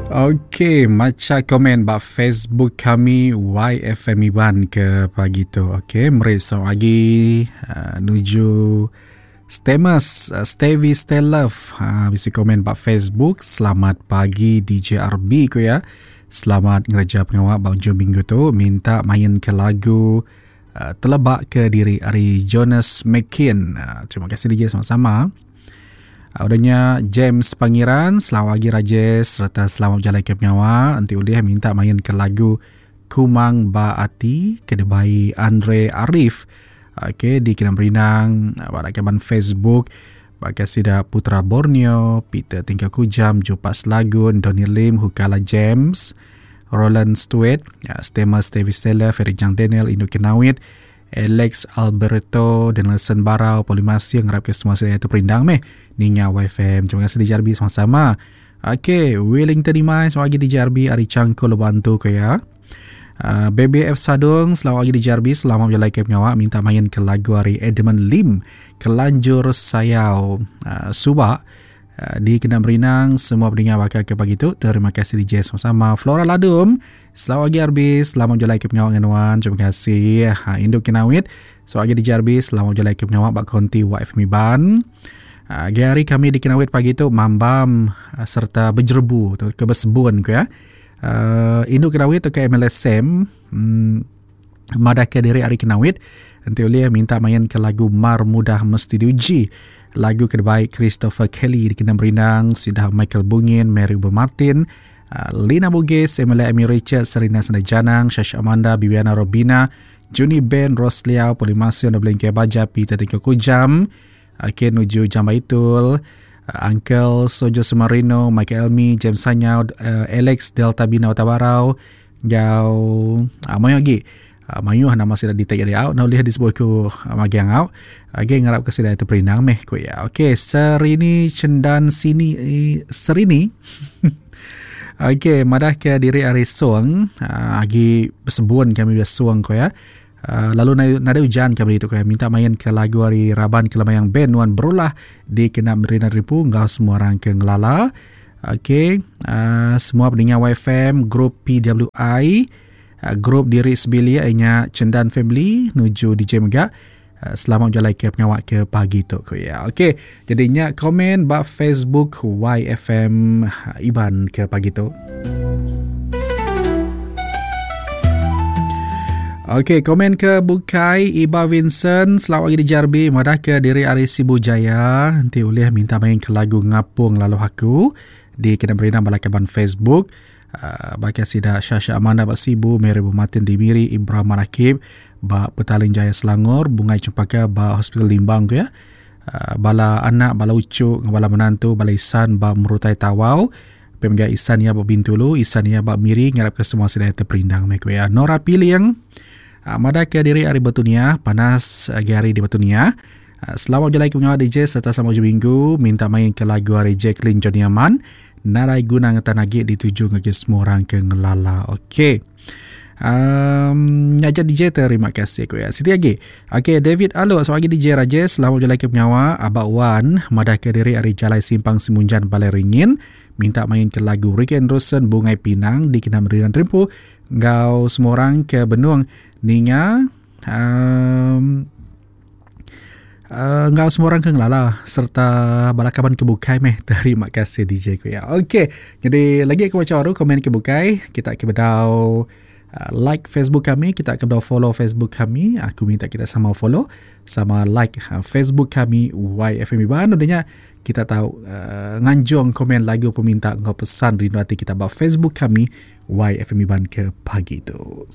Okey, macha komen ba Facebook kami YFM Iban ke pagi tu. Okey, meri selamat pagi uh, nuju Stemus, uh, Stevie Stay Love. Uh, bisi komen ba Facebook. Selamat pagi DJ RB ku ya. Selamat ngereja pengawa ba ujung minggu tu. Minta main ke lagu uh, Telebak ke diri ari Jonas McKin. Uh, terima kasih DJ sama-sama. Ah, udah nya James Pangeran, selamat pagi Rajesh serta selamat berjalai ke pengawa. Enti ulih minta main ke lagu Kumang Ba Ati ke dibai Andre Arif. Okey di Kena Berinang, ah, ba rakaman Facebook baka sida Putra Borneo, Peter Tingkau Kujam, Jupas Lagun, Donny Lim, Hukala James, Roland Stewart, ah, Stema Stevie Stella, Ferry Jang Daniel, Indu Kenawit, Alex Alberto Danielson Barau Polimasih ngarap ke semua sida tu perindang meh ninga YFM. Terima kasih DJ RB sama-sama. Okey, Wellington Imai selamat pagi DJ RB ari Changkul Bantu ke ya. Uh, BBF Sadung selamat pagi DJ RB selamat berjalai ke pengawa minta main ke lagu ari Edmund Lim Kelanjur Sayau uh, Subak uh, di Kena Berinang semua pendengar bakal ke pagi tu terima kasih DJ sama-sama Flora Ladum Selamat pagi RB, selamat bejalai ke pengawa dengan nuan. Terima kasih. Ha, Induk Kinawit. Selamat pagi DJ RB, selamat bejalai ke pengawa ba konti YFM Iban. Ha, hari kami di Kinawit pagi tu mambam ha, serta berjerebu tu ke bersebun ke ya. Uh, Induk Kinawit tu ke MLSM hmm, madah ke diri hari Kinawit enti ulih minta main ke lagu Mar Mudah Mesti Diuji. Lagu ke baik Christopher Kelly di Kena Merindang, Sidah Michael Bungin, Mary Uber Martin, Ah, Lina Bugis, Emilia Amy Richard, Serena Senda Janang, Shasha Amanda, Bibiana Robina, Juni Ben, Ros Liao, Polimasio, Nobelin Baja, Peter Tingko Kujam, Ken Nuju Jambaitul, ah, Uncle Sojo Sumarino, Michael Elmi, James Sanyau, ah, Alex Delta Bina Otabarau, Gau uh, mayuh lagi. Uh, mayuh nama sida di tag out nah ulih disebut ku uh, magiang out. Agi ngarap ke sida itu perindang meh ku ya. Okey, Serini Cendan sini eh, Serini. Okey, madah ke diri ari Song, uh, agi bersebun kami biasa Song ku ya. Uh, lalu nada hujan kami itu ku ya. Minta main ke lagu ari Raban Kelemayang Band Nuan Berulah di kena Merina Ripu enggau semua orang ke ngelala. Okey, uh, semua pendengar YFM, grup PWI, uh, grup diri sebilik inya Cendan Family nuju DJ mega. Uh, selamat berjalai ke pengawak ke pagi tu ku ya. Okey, jadi nya komen ba Facebook YFM Iban ke pagi tu. Okey, komen ke bukai Iba Vincent selamat pagi di Jarbi madah ke diri ari Sibu Jaya enti ulih minta main ke lagu Ngapung Lalu Aku di kena berinam bala kaban Facebook uh, bagi sida Syasha Amanda ba Sibu Mary Bumatin di Miri Ibrahim Marakib ba Petaling Jaya Selangor Bungai Cempaka ba Hospital Limbang ku ya uh, bala anak bala ucuk bala menantu bala isan ba Merutai Tawau Pia mega isan iya ba Bintulu, isan iya ba Miri ngarapka semua sida iya teperindang meh ku iya. Nora Piling ah, madahka diri ari Batu Niah, panas agi hari di Batu Niah. Ah, selamat bejalai ke pengawa DJ sereta selamat ujung minggu minta main ke lagu ari Jacqueline Johnny Aman. Nadai guna ngetan agi dituju ngagai semua orang ke ngelala. Okey. Um, nya aja DJ terima kasih ku ya. Siti agi. Okey David Alo selamat pagi DJ Rajesh selamat bejalai ke pengawa Abak Wan madah ke diri ari Jalai Simpang Simunjan Balai Ringin minta main ke lagu Ricky Anderson Bungai Pinang dikena Meridan Rimpu enggau semua orang ke benung ninga um, Uh, enggau semua orang ke ngelala serta bala kaban ke bukai meh terima kasih DJ ku ya. Okey, jadi lagi aku baca baru komen ke bukai kita ke bedau uh, like Facebook kami, kita ke bedau follow Facebook kami. Aku minta kita sama follow sama like uh, Facebook kami YFM Iban. Udahnya kita tahu uh, nganjung komen lagu peminta enggau pesan rindu ati kita ba Facebook kami YFM Iban ke pagi tu.